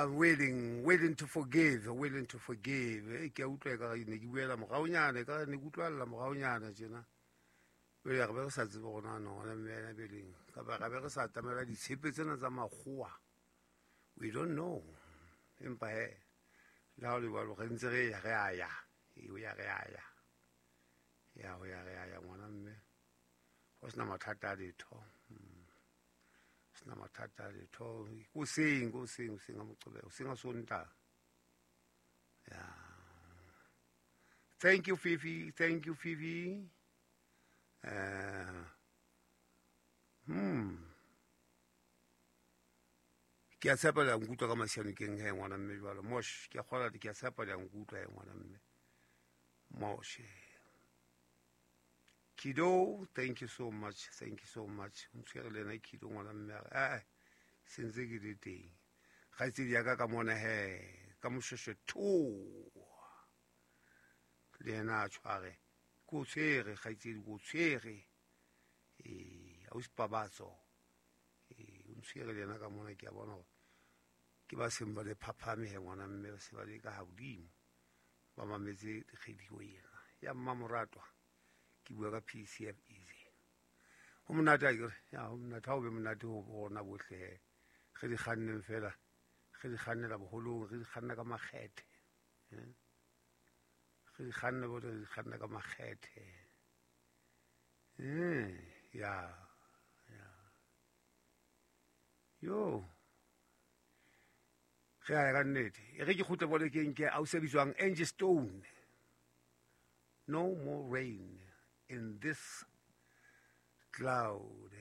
Willing, willing to forgive, willing to forgive. E ke a utlwa ekare ne ke buela moraonyana, ekare ne ke utlwalla moraonyana tjena. Jwale re be re sa tsebe hore na no ngwana mme ena beleng kapa ra be re sa atamela ditshepe tsena tsa makgowa. We don't know. Empa he, le ha ho le jwalo re ntse re ya re a ya. E ho ya re a ya. Ya ho ya re a ya ngwana mme. Ho sena mathata a letho. Sena mathata a letho. Hoseng, hoseng, hoseng a Moqebelo, hoseng a Sontaha. Yeah. Thank you, Fifi. Thank you, Fifi. Ke a tshepa le a nkutlwa ka masianokeng he ngwana mme jwalo. Mosh, ke a kgola, ke a tshepa le a nkutlwa he ngwana mme. Moshe. Kido, thank you so much. Thank you so much. O ntshwere le ena Kido ngwana mme a re, eh, sentse ke le teng. Kgaitsedi ya ka ka mona he, ka moshweshwe tho. Le yena a tshware. Ke o tshwere, kgaitsedi, ke o tshwere. Ausi Pabatso. O ntshwere le yena ka mona, ke a bona hore ke ba seng ba le phaphame he ngwana mme, ba se ba le ka hodimo. Ba mametse radio ena ya Mmamoratwa. Ke bua ka PCF Easy. Ho monate akere? Ya, ho monate, ha ho be monate ho rona bohle he. Re di kganneng fela, re di kgannela boholong, re di kganna ka makgethe. Re di kganna bohle, re di kganna ka makgethe. Ya, ya. Yo. Re a ya ka nnete. E re ke kgutle polekeng ke ausi a bitswang Angie Stone. No more rain in this cloud.